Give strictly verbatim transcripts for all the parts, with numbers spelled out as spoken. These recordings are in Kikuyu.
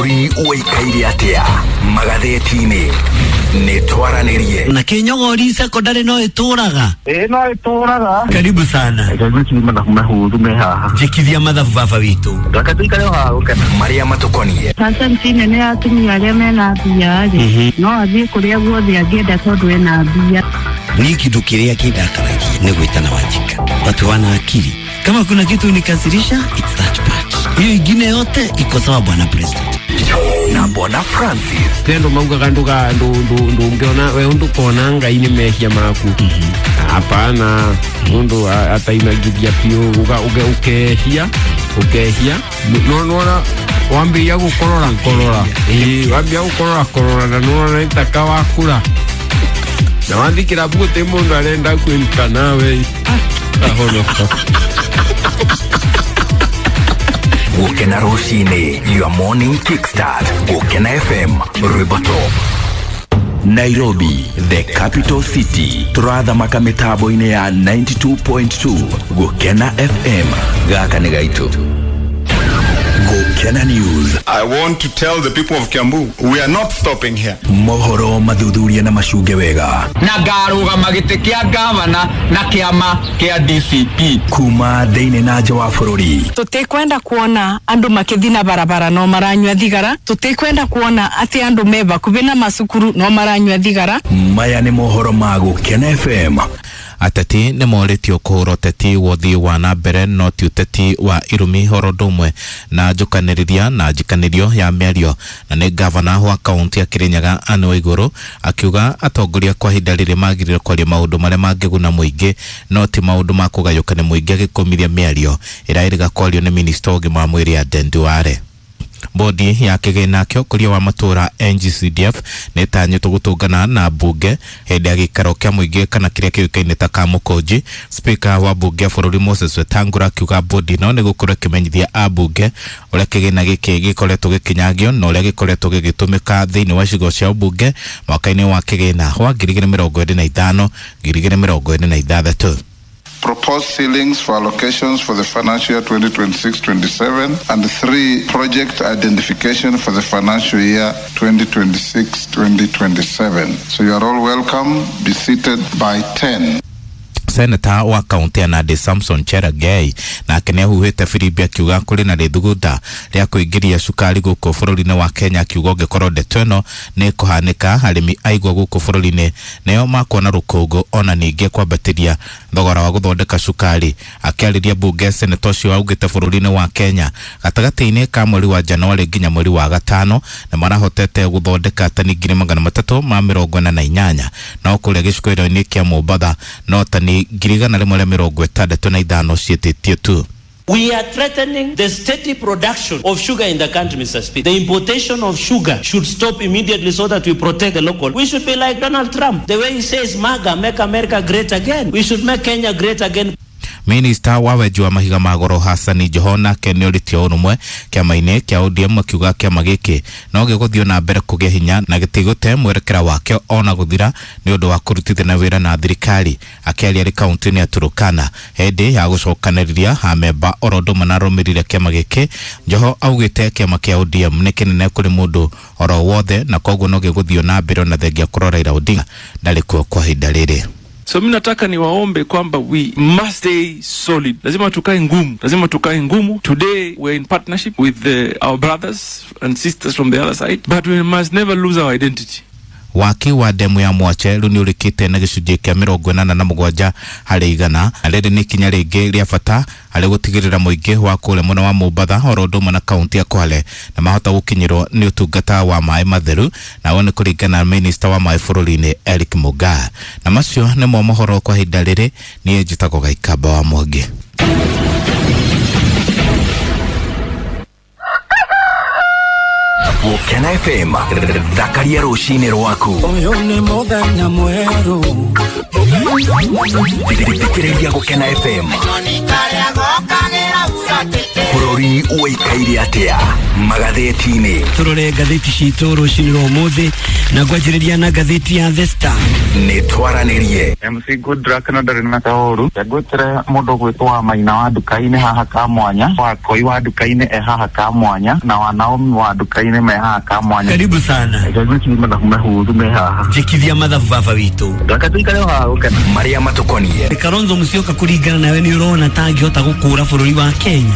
Ũikaire atĩa magathĩti-inĩ nĩ twaranĩrie na Kinyogori secondary no ĩtũraga. Ĩĩ no ĩtũraga. Karibu sana. Reke mathabu mahũthũ me haha. Njĩkithia mathabu baba witũ. Reke tũikare o haha gũkena. Marĩa matũkoniĩ. Percent nene ya atumia arĩa mena mbia rĩ, no athiĩ kũrĩa guothe angĩenda tondũ ena mbia. Ni kitu kĩrĩa kĩndakaragia nĩ gwĩtana Wanjika. Watu wana akili. Kama kuna kitu unikasirisha, it's that part. Hiyo ingine yote iko sawa bwana president. Na Bwana Francis. Tendo maugaga nduga ndungiona we ndukona Ngai nĩ mehia maku. Hapana, mundu atainagithia biũ uga uge ukehia ukehia no nona wambia gukorora korora ĩĩ wambia gukorora korora na nona nĩ wakura na wathi kĩrabu gũtĩ mũndũ arenda kwĩruta nawe ahonoka. Gukena rũcinĩ, your morning kickstart. Gukena F M, Rwĩmbo Top. Nairobi, the capital city. Turathamaka mĩtambo-inĩ ya ninety-two point two. Gukena F M. Gaka nĩ gaitũ. Gukena News. I want to tell the people of Kiambu, we are not stopping here. Mohoro mathuthuria na macunge wega. Na ngarũgama gĩtĩ kĩa gavana na kĩama kĩa D C P. Kuma thĩinĩ na nja wa bũrũri. Tũtikwenda kuona andũ makĩthiĩ na barabara no maranyua thigara. Tũtikwenda kuona atĩ andũ me bakubi na macukuru no maranyua thigara. Maya nĩ mohoro ma Gukena F M. Ateti nĩ morĩtio kũhũra ũteti wa ũthii wa na mbere no ti ũteti wa irumi horo ũndũ ũmwe na njũkanĩrĩria na njikanĩrio ya mĩario na nĩ gavana wa kaunti ya Kirinyaga Anne Waiguru akiuga atongoria kwa ihinda rĩrĩ magĩrĩire kwaria maũndũ marĩa mangĩguna mũingĩ no ti maũndũ ma kũgayũkania mũingĩ agĩkũmithia mĩario ĩrĩa ĩrĩga kwario nĩ minista wa ũgima wa mwĩrĩ Aden Duale. Bodi ya kĩgĩna kĩa ũkũria wa matũra N G C D F nĩ ĩtanyĩtwo gũtũngana na mbunge hĩndĩ ya gĩikaro kĩa mũingĩ kana kĩrĩa kĩũĩkaine ta Kamũkũnji. Speaker wa mbunge ya bũrũri Moses Wetangula akiuga bodi ĩno nĩ gũkorwo ĩkĩmenyithia ambunge ũrĩa kĩgĩna gĩkĩ gĩkoretwo gĩkĩnyagio na ũrĩa gĩkoretwo gĩgĩtũmĩka thĩinĩ wa icigo cia ũmbunge mwaka-inĩ wa kĩgĩna wa ngiri igĩrĩ mĩrongo ĩrĩ na ithano ngiri igĩrĩ mĩrongo ĩrĩ na ithathatũ. Proposed ceilings for allocations for the financial year twenty twenty-six twenty-seven and three, project identification for the financial year twenty twenty-six twenty twenty-seven. So you are all welcome. Be seated by ten. Senator wa kaunti ya Nandi Samson Cherargei nake nĩ ahuhĩte firimbi akiuga kũrĩ na rĩthugunda rĩa kũingĩria cukari gũkũ bũrũri-inĩ wa Kenya akiuga ũngĩkorwo ndeto ĩno nĩ ĩkũhanĩka arĩmi aigua gũkũ bũrũri-inĩ nĩo makuona rũkũngũ ona ningĩ kwambatĩria thogora wa gũthondeka cukari. Akĩarĩria mbunge senator ũcio augĩte bũrũri-inĩ wa Kenya gatagatĩ-inĩ ka mweri wa Januarĩ nginya mweri wa gatano nĩ marahotete gũthondeka tani ngiri magana matatũ ma mĩrongo ĩna na inyanya no kũrĩa gĩcukĩro-inĩ kĩa Mombatha no tani ngiri igana rĩmwe rĩa mĩrongo ĩtandatũ na ithano ciĩtĩtio tu. We are threatening the steady production of sugar in the country, Mister Speaker. The importation of sugar should stop immediately so that we protect the local. We should be like Donald Trump. The way he says, MAGA, make America great again. We should make Kenya great again. Minister wa wenji wa mahiga ma goro Hassani Joho nake nĩ orĩtie ũrũmwe kĩama-inĩ kĩa O D M akiuga kĩama gĩkĩ no gĩgũthiĩ na mbere kũgĩa hinya na gĩtigũte mwerekera wakĩo ona gũthira nĩ ũndũ wa kũrutithania wĩra na thirikari. Akĩaria arĩ kaunti-inĩ ya Turkana hĩndĩ ya gũcokanĩrĩria amemba oro ũndũ ũmwe na arũmĩrĩri a kĩama gĩkĩ, Joho augĩte kĩama kĩa O D M nĩ kĩnene kũrĩ mũndũ oro wothe na koguo no gĩgũthiĩ na mbere ona thengia kũrora Raila Odinga ndarĩ kuo kwa ihinda rĩrĩ. So mimi nataka niwaombe kwamba we must stay solid. Lazima tukae ngumu. Lazima tukae ngumu. Today we're in partnership with the, our brothers and sisters from the other side, but we must never lose our identity. Waki wa demu ya Mwache rĩu nĩ ũrĩkĩte na gĩcunjĩ kĩa mĩrongo ĩnana na mũgwanja harĩ igana na rĩrĩ nĩ ikinya rĩngĩ rĩa bata harĩ gũtigĩrĩra mũingĩ wa kũrĩa mwena wa Mombatha oro ũndũ ũmwe na kaunti ya Kwale na mahota gũkinyĩrwo nĩ ũtungata wa maĩ matheru na nĩ kũringana na minista wa maĩ bũrũri-inĩ Eric Mugaa. Na macio nĩmo mohoro kwa ihinda rĩrĩ. Niĩ njĩtagwo Gaikamba wa Mwangi. Gukena F M thakaria rũcinĩ rwaku. Ũyũ nĩ mũthenya mwerũ. Thikĩrĩria Gukena F M. Bũrũri ũikaire atĩa magathĩti-inĩ. Turore ngathĩti citũ rũcinĩ rwa ũmũthĩ na ngwanjĩrĩria na ngathĩti ya The Star. Nĩ twaranĩrie. M C Goodluck na ndarĩ na kaũru. Ngwĩtĩre mũndũ gwĩtwo wa Maina wa nduka-inĩ haha ka mwanya, wa Koi wa nduka-inĩ e haha ka mwanya, na wa Naomi wa nduka-inĩ me haha ka mwanya. Karibu sana. Me haha. Njĩkithia mathabu baba witũ. Reke tũikare haha gũkena. Marĩa matũkoniĩ. Kalonzo Musyoka kũringana nawe nĩ ũrona ta angĩhota gũkũra bũrũri wa Kenya?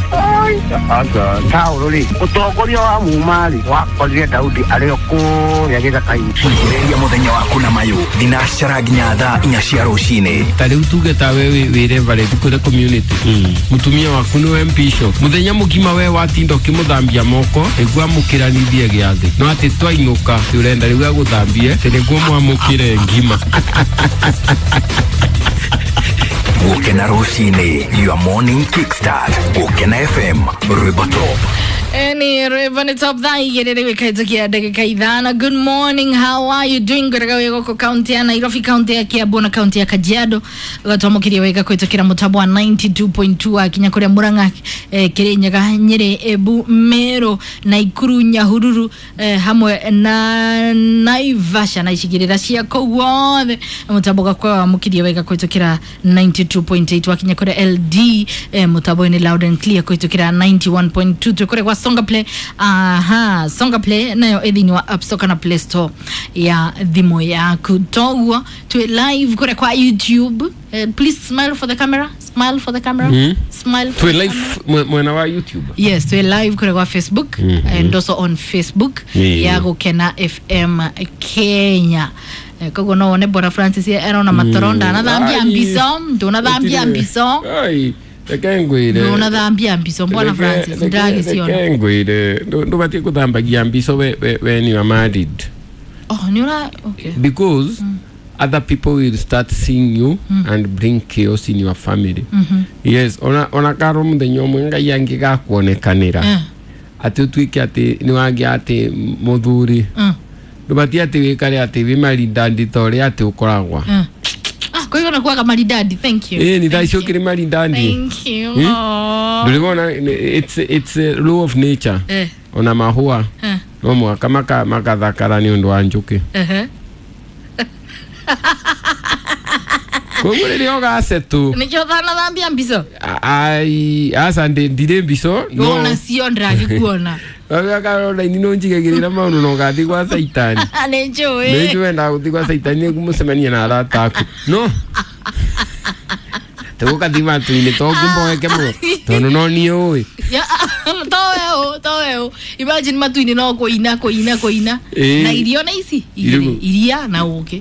Aca Saũlũ rĩ, ũtongoria wa muma rĩ, wakorire Daudi arĩ o kũrĩa gĩthaka-inĩ. Ambĩrĩria mũthenya waku na mayũ thinacara nginya thaa inya cia rũcinĩ. Ta rĩu tuge ta we wĩ reverend kũrĩ community, mũtumia waku nĩwe bishop, mũthenya mũgima we watinda ũkĩmũthambia moko nĩguo amũkĩranithie gĩathĩ, no atĩ twainũka ũrenda rĩu agũthambie atĩ nĩguo mwamũkĩre ngima. Gũkena rũcinĩ, your morning kickstart. Gũkena F M, Rwĩmbo Top. Eni Rwĩmbo nĩ top thaa igĩrĩ rĩu ĩkahĩtũkia ndagĩka ithano. Good morning, how are you doing? Ngwĩraga wĩ gũkũ kaunti ya Nairobi, kaunti ya Kiambu na kaunti ya Kajiado. Ũgatwamũkĩria wega kũhĩtũkĩra mũtambo wa ninety two point two wakinya kũrĩa Murang'a, eh, Kirinyaga, Nyĩrĩ, Embu, Meru, Naikuru, Nyahururu, eh, hamwe na Naivasha na icigĩrĩra cia kũu guothe. Mũtambo ũgakorwo wamũkĩria wega kũhĩtũkĩra ninety two point eight wakinya kũrĩa L D, eh, mũtambo-inĩ loud and clear kũhĩtũkĩra ninety one point two. Twĩ kũrĩa gwa Songa Play. Aha, Songa Play nayo ĩ thĩinĩ wa App Store kana Play Store ya thimũ yaku. Toguo twĩ live kũrĩa kwa YouTube. Uh, please smile for the camera. Smile for the camera. Mm. Smile for Twĩ the live camera. Mwena wa YouTube. Yes, twĩ live kũrĩa kwa Facebook. Mm -hmm. And also on Facebook yeah. ya Gũkena F M Kenya. Koguo no wone Bwana Francis erona matoro ndanathambia mbico, ndunathambia mbico. Ai, reke ngwire. Ndunathambia mbico Bwana Francis, ndagĩciona. Reke ngwire, ndũbatiĩ gũthambagia mbico when you are married. Oh, nĩ ũra okay. Because mm. other people will start seeing you mm. and bring chaos in your family. Mm -hmm. Yes, ona ona karo mũthenya ũmwe Ngai angĩgakuonekanĩra. Mm. Atĩ ũtuĩke atĩ nĩ wagĩa atĩ mũthuri. Mm. Ndũbatiĩ atĩ wĩkare atĩ wĩ maridadi ta ũrĩa atĩ ũkoragwa. Mm. Ah, kwa hivyo nakuwaga maridadi. Thank you. Eh, ni thaa icio ũkĩrĩ maridadi. Thank you. Hmm? Ndũrĩ it's it's a law of nature. Eh. Ona mahũa. Eh. No mũhaka maka makathakara nĩ ũndũ wa njũkĩ. Eh. Koguo rĩrĩa ũgacetũ. Nĩkĩo ũtanathambia mbico? Ai, aca ndirĩ mbico. No nacio ndĩragĩkuona. Caroline no njigagĩrĩra maũndũ na ũgathiĩ gwa Saitani. Nĩ njũĩ. Nĩ njũĩ wendaga gũthiĩ gwa Saitani nĩguo mũcemanie na arata aku. No. Tũgũkathiĩ matu-inĩ to ngũmboeke mũno tondũ no niĩ ũĩ. To we ũ, to we ũ. Imagine matu-inĩ no kũina kũina kũina. Na irio na ici igĩrĩ, iria na ũkĩ.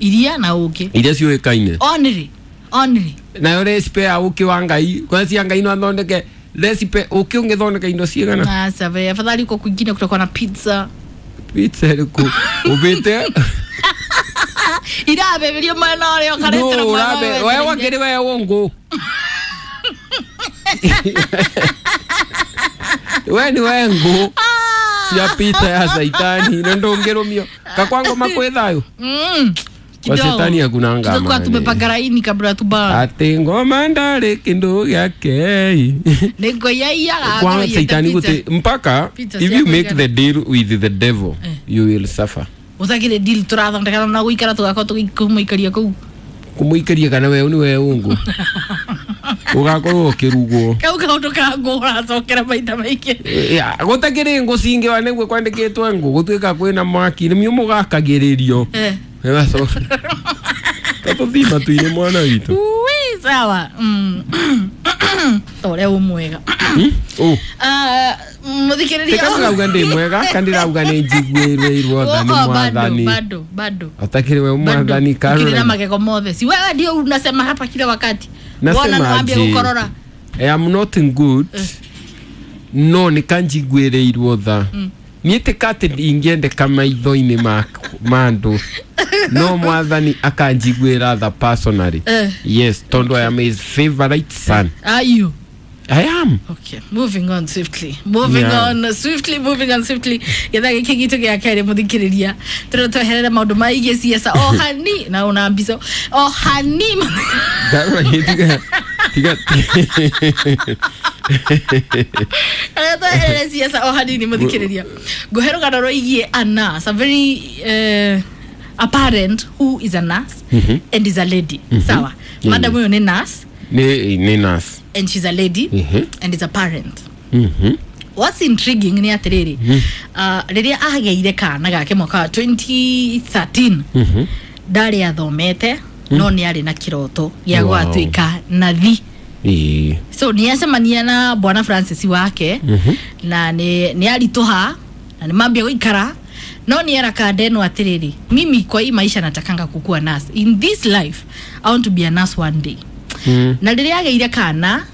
Iria na ũkĩ. Iria ciũĩkaine. Only. Only. Nayo recipe ya ũkĩ wa Ngai, kwanza cia Ngai no athondeke recipe ũkĩ ũngĩthondeka indo cigana. Ah, sawa. Afadhali uko kwingine kutakuwa na pizza. Pizza ĩrĩkũ? Ũbĩte? Irabeberio mwena ũrĩa ũkaretera mwena ũrĩa. We wakĩrĩ we ũngũ. We ni we ngũ cia pizza ya Saitani na ndũngĩrũmio. Kakwa ngoma kwĩ thayũ? Mm. Kwa Shetani hakuna ngama. Tutakuwa tumepanga laini kabla tuba. Ati ngoma ndari kindu gyake. Nĩngũiyaiyaga Kwa Saitani gũtĩ mpaka if you make the deal with the devil eh. you will suffer. Ũtakĩrĩ deal tũrathondekana na gũikara tũgakorwo tũgĩkũmũikaria kũu. Kũmũikaria kana we nĩ we ũngũ. Ũgakorwo ũkĩrugwo. Kau kaũndũ ka ngũ ũracokera maita maingĩ. Gũtakĩrĩ ngũ cingĩwa nĩguo kwandĩkĩtwo ngũ gũtuĩka kwĩna mwaki nĩmio mũgakagĩrĩrio. Eh. Tatũthiĩ matu-inĩ mwana witũ. Ui, sawa. Mm. Ta ũrĩa wĩ mwega. Ũ. Ah, mũthikĩrĩria. Teka ndĩrauga ndĩ mwega kana ndĩrauga nĩ njiguĩrĩirwo tha nĩ mwathani. Bado, bado. Atakĩrĩ we mwathani Caroline. Ukiri na magego mothe. Si wewe ndio unasema hapa kila wakati. Nasema naambia gukorora. I am not good. No nĩ kanjiguĩrĩirwo tha. Niĩ ti atĩ ingĩendeka maitho-inĩ ma andũ. No mwathani akanjiguĩra tha personally. Eh. Yes, tondũ I am his favorite son. Are you? I am. Okay, moving on swiftly. Moving yeah. on swiftly, moving on swiftly. Getha gĩkĩ gitũ gĩa kerĩ mũthikĩrĩria. Tũrĩa tweherera maũndũ maingĩ ciaca o hani na ona mbico. O hani. Tiga tiga Ere siasa o hanini muthikiriria nguhe rugano rwigie a nurse, a very uh, a parent who is a nurse mm -hmm. and is a lady. Mm -hmm. Sawa. Mm. Madam huyo ni nurse. Ni ni nurse. And she's a lady. Mm -hmm. And is a parent. Mm -hmm. What's intriguing ni atiriri. Mm. Uh, riria ageire kana gake mwaka wa twenty thirteen. Mm -hmm. Ndari athomete mm. no ni ari na kiroto gĩa Wow. gwatuika nathi. Ii. So ni acemania na Bwana Francis wake. Mm -hmm. Na ni ni arituha na ni mambia guikara no ni era kandeno atiriri, mimi kwa hii maisha natakanga kukua nurse. In this life I want to be a nurse one day. Mm. Na riria ageire kana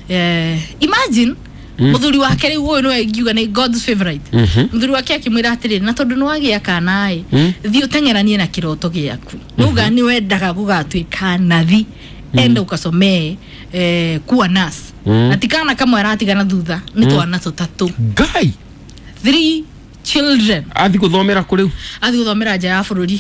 eh, imagine Mm. muthuri wake riu uyu niwe ngiuga ni God's favorite. Mm -hmm. Muthuri wake akimwira atiriri, na tondu ni wagia kana i Mm. thiĩ ũteng'eranie na kiroto gĩaku. Nuga ni wendaga gũgatuĩka nathi, enda ukasomee eh, kuwa nurse. Mm. Na ti kana kamwe aratigana thutha nĩ Mm. twana tũtatũ. Ngai Three children. Athi guthomera kũ rĩu? Athi guthomera nja ya bũrũri,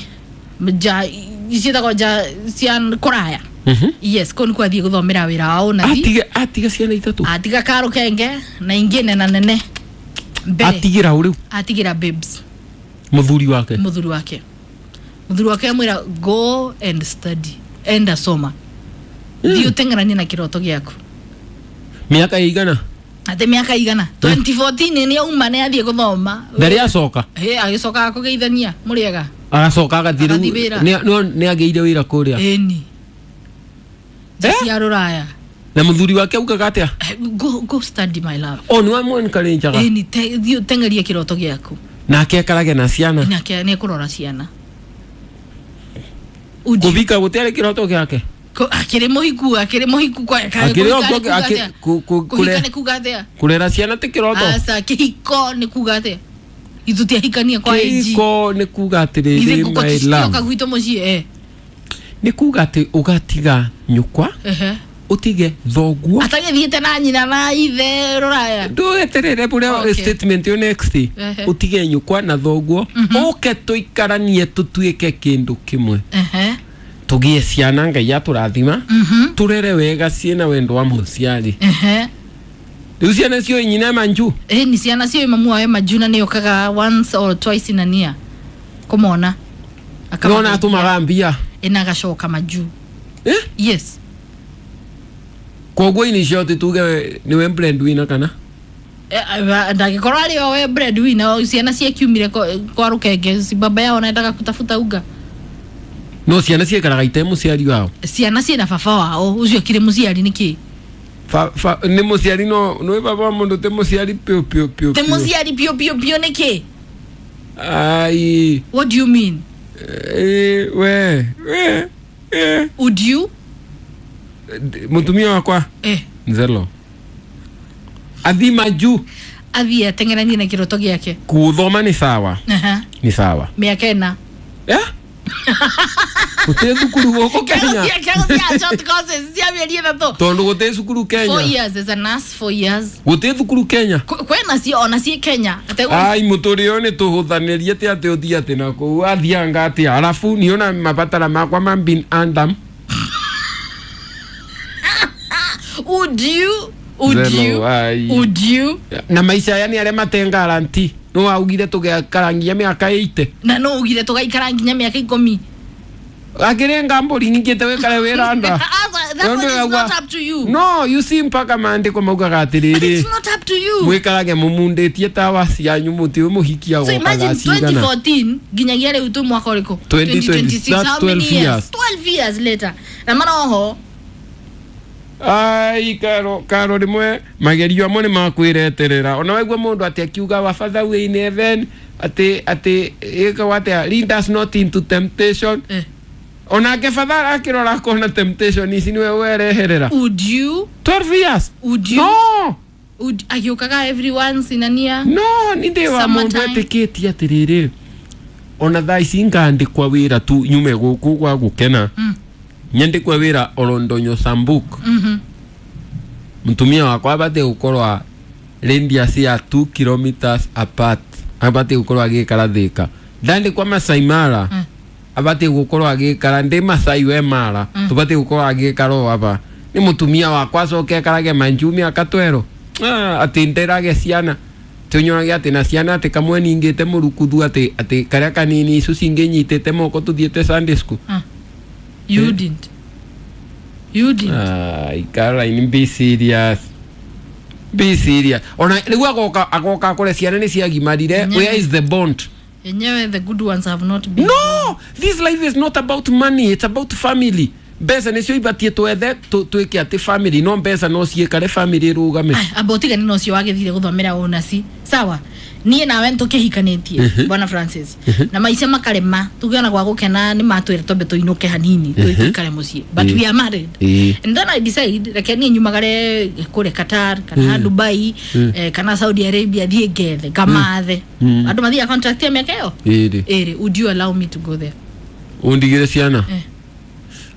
nja ciĩtagwo nja cia kũraya. Mhm. Yes, kũu nĩkuo athiĩ gũthomera wĩra wa ũnathi. Atige atiga ciana ithatũ. Atiga karũkenge na ingĩ nena nene mbere. Atigĩra ũ rĩu? Atigĩra babes. Mũthuri wake. Mũthuri wake. Mũthuri wake amwĩra go and study, enda soma. Thiĩ ũteng'eranie na kĩroto gĩaku. Mĩaka ĩigana? Ate mĩaka igana? twenty fourteen nĩ auma nĩ athiĩ gũthoma. Ndarĩ acoka? Ĩ, agĩcoka kũgeithania mũrĩega. Agacoka agathiĩ Agathiĩ rĩu wĩra. nĩ nĩ- nĩ agĩire wĩra kũrĩa. Ĩni. Nja cia rũraya. Na mũthuri wake augaga atĩa? Go, go study my love. O nĩ wamwenkarenjaga. Ĩni, thiĩ ũteng'erie kĩroto gĩaku. Nake ekarage na ciana. Nake nĩ ekũrora ciana. Kũbika gũtiarĩ kĩroto gĩake. Akĩrĩ mũhiku, akĩrĩ mũhiku kwa Akĩrĩ o kũhika nĩ kwa- kuga akĩ- atĩa? ku- ku- Kũhika kũre- nĩ kuga atĩa? Kũrera ciana ti kĩroto. Aca, kĩhiko nĩ kuga atĩa? Ithu tiahikania kwa A G. Kĩhiko nĩ kuga atĩrĩrĩ Ithe ngũkũ my ticioka love. gwitũ mũciĩ eh. Nĩ kuga atĩ ũgatiga nyũkwa, Ehe. ũtige thoguo. Atagĩthiĩte na nyina na ithe rũraya. Ndũeterere bũrĩa Okay. statement ĩyo next. Ehe. Ũtige nyũkwa na thoguo, ũke tũikaranie tũtuĩke kĩndũ kĩmwe. Ehe. Tũgĩe ciana Ngai atũrathima, Mhm. tũrere wega ciĩna wendo wa mũciari. Ehe. Rĩu ciana ciũĩ nyina manju. Eh, ni ciana ciũĩ mamu wawe manju na nĩokaga once or twice in a year kũmona. Nona atũmaga mbia. Ĩna agacoka manju. Eh? Yes. Koguo ini short tuge niwe breadwinner kana? Ndangĩkorwo arĩ o we breadwinner, ciana ciakiumire kwa rũkenge, si baba yao anaendaga kutafuta unga. No ciana ciikaraga ite mũciari wao. Ciana ciĩna baba wao, ũcio akĩrĩ mũciari nĩkĩ? Fa, fa, nĩ mũciari no nĩ baba wa mũndũ te mũciari piũ piũ piũ. Te piũ. mũciari piũ piũ piũ nĩkĩ? Ai. What do you mean? Eh, we, we, eh. Would you? Mũtumia wakwa? Eh. Nzelo. Athi majuu. Athiĩ ateng'eranie na kĩroto gĩake. Kuthoma nĩ sawa. Aha. Nĩ sawa. Mĩaka ĩna. Eh? Gũtirĩ thukuru gũkũ Kenya. Kĩroto short courses cia mĩeri ĩtatũ. Tondũ gũtirĩ thukuru Four Kenya. years as a nurse, four years. Gũtirĩ thukuru Kenya. Kwĩna cio ona ciĩ Kenya. Atego Ai mũtũrĩre ũyũ nĩ tũhũthanĩrie ti atĩ ũthiĩ atĩ na kũu athianga atĩa arabu niona mabatara makwa ma bin andam. Would you? Would Zelo, you? ai. Would you? Na maica aya nĩ arĩa matengaranti no waugire tũgekarangia mĩaka ĩite. Na no ugire tũgaikara nginya mĩaka ikũmi. Akĩrĩ mbũri nyingĩte wĩkare wĩranda. That one is not up to you. No, you see mpaka maandĩko maugaga atĩrĩrĩ. It's not up to you. Mwĩkarage mũmundĩtie tawa cianyu mũtĩ ũyũ mũhikia So gokaga imagine cigana. twenty fourteen nginyagia rĩu twĩ mwaka ũrĩkũ? twenty twenty-six, that's How many twelve years? years. twelve years later. Na mana oho Ai karo karo rĩmwe magerio amwe nĩ makwĩreterera ona waigua mũndũ atĩ akiuga wa father wĩ in heaven atĩ atĩ ĩkagwo atĩa lead us not into temptation. Eh. Onake father akĩrora akona temptation ici nĩwe wereherera. Would you? twelve years. Would you? No. Would agĩũkaga every once in a year? No, nĩ ndĩ wa mũndũ Summertime. etĩkĩtie atĩrĩrĩ ona thaa ici ngandĩkwa wĩra tu nyume gũkũ gwa gũkena. Mm. Nyandĩkwe wĩra Olondonyo Sambuk. Mhm. Mũtumia wakwa abatiĩ gũkorwo radius ya two kilometers apart abatiĩ gũkorwo agĩikara Thika. Ndandĩkwa Masai Mara Mm. abatiĩ gũkorwo agĩikara ndĩ Masai we Mara Mm. tũbatiĩ gũkorwo agĩikara o aba nĩ mũtumia wakwa acoke ekarage Manju mĩaka twero. Ah, ati nderage ciana tunyorage ati na ciana ati kamwe ningite murukuthu ati ati karia kanini icu cinginyitite moko tuthiete Sunday school. Ah. You didn't. You didn't. Ah, Caroline, be serious. Be serious. Ona riu agoka agoka kore ciana ni ciagimarire. Where is the bond? Yenyewe the good ones have not been. No, this life is not about money, it's about family. Mbeca nicio ibatie twethe twike ati family, no mbeca no ciikare family rugame. Amba utigane na ucio wagithire guthomera unaci sawa nie nawe ntukihikanitie bwana Francis na maica makarema tugiona gwa gukena ni matwira tombe tuinuke hanini tuikare mucii, but we are married and then I decide reke nie nyumagare kure Qatar kana Dubai eh, kana Saudi Arabia thie ngethe ngamathe andu mathia contract ya miaka iyo iri. Would you allow me to go there? Undigire ciana eh.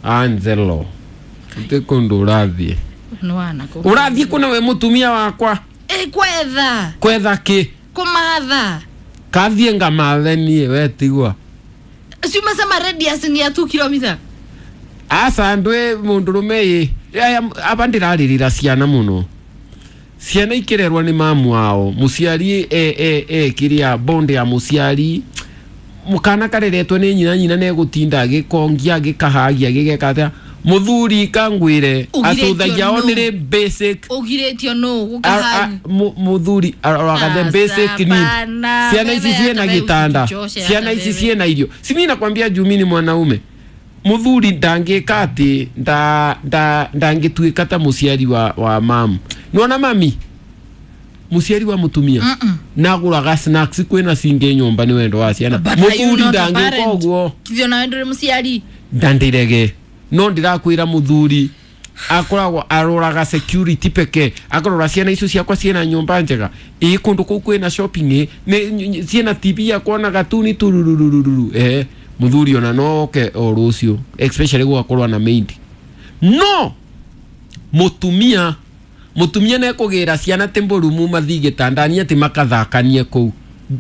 Angelo te kundu urathie nwana ko urathie kuna we mutumia wakwa eh kwetha kwetha ki kumatha kathie ngamathe nie we tigwa ciuma sama radius ni ya two kilometer asa ndwe mundu rume yi aba ndiraririra ciana muno ciana ikirerwa ni mamu wao muciari e e e kiria bond ya muciari mukana kareretwo ni nyina nyina negutinda agikongia agikahagia agigeka atia muthuri kangwire atuthagia only basic ugiretio no gukahagia muthuri aroraga the basic need. Ciana ici ciena gitanda, ciana ici ciena irio. Si mimi nakwambia juu mimi ni mwanaume muthuri ndangika ati nda nda ndangituika ta muciari wa wa mamu nona mami muciari wa mutumia mm -mm. Naguraga snacks kwina cingi nyumba ni wendo wa ciana muthuri ndangika uguo kithio nawe nduri muciari ndandirege no ndirakwira muthuri akoragwo aroraga security peke akorora ciana icio ciakwa ciena nyumba njega ii kundu kuu kwina shopping ni ciena T V ya kuona gatuni tururururu eh muthuri ona no oke o rucio especially gwakorwo na maid no mutumia mutumia nekugira ciana timburumu mathi gitandani ati makathakanie kuu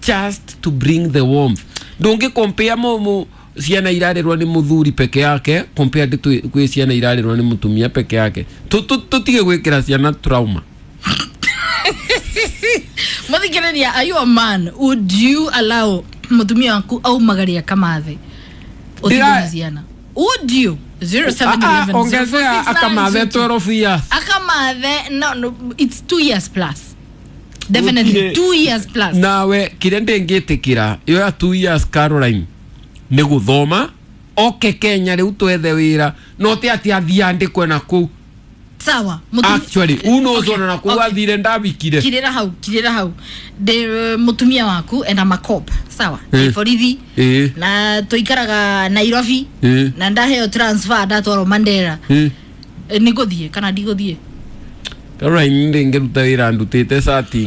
just to bring the warmth. Ndungi compare mu ciana irarerwo ni muthuri peke yake compared to kwi ciana irarerwo ni mutumia peke yake. Tutige gwikira ciana trauma. Muthikiriria, are you a man? Would you allow mutumia waku au magaria kamathe utigane ciana? Would you? zero seven eleven ongezea akamathe twelve years akamathe no, no it's two years plus definitely two years plus. Nawe kiria ndingitikira iyo ya two years Caroline ni guthoma oke Kenya riu twethe wira no ti ati athie andikwe na kuu sawa. Actually uno zona na kuu athire ndabikire kirira hau kirira hau de mutumia waku enda makop sawa ni borithi na tuikaraga Nairobi na ndaheo transfer ndatwarwo Mandera ni guthie kana ndiguthie Caroline ndingiruta wira ndutite sati.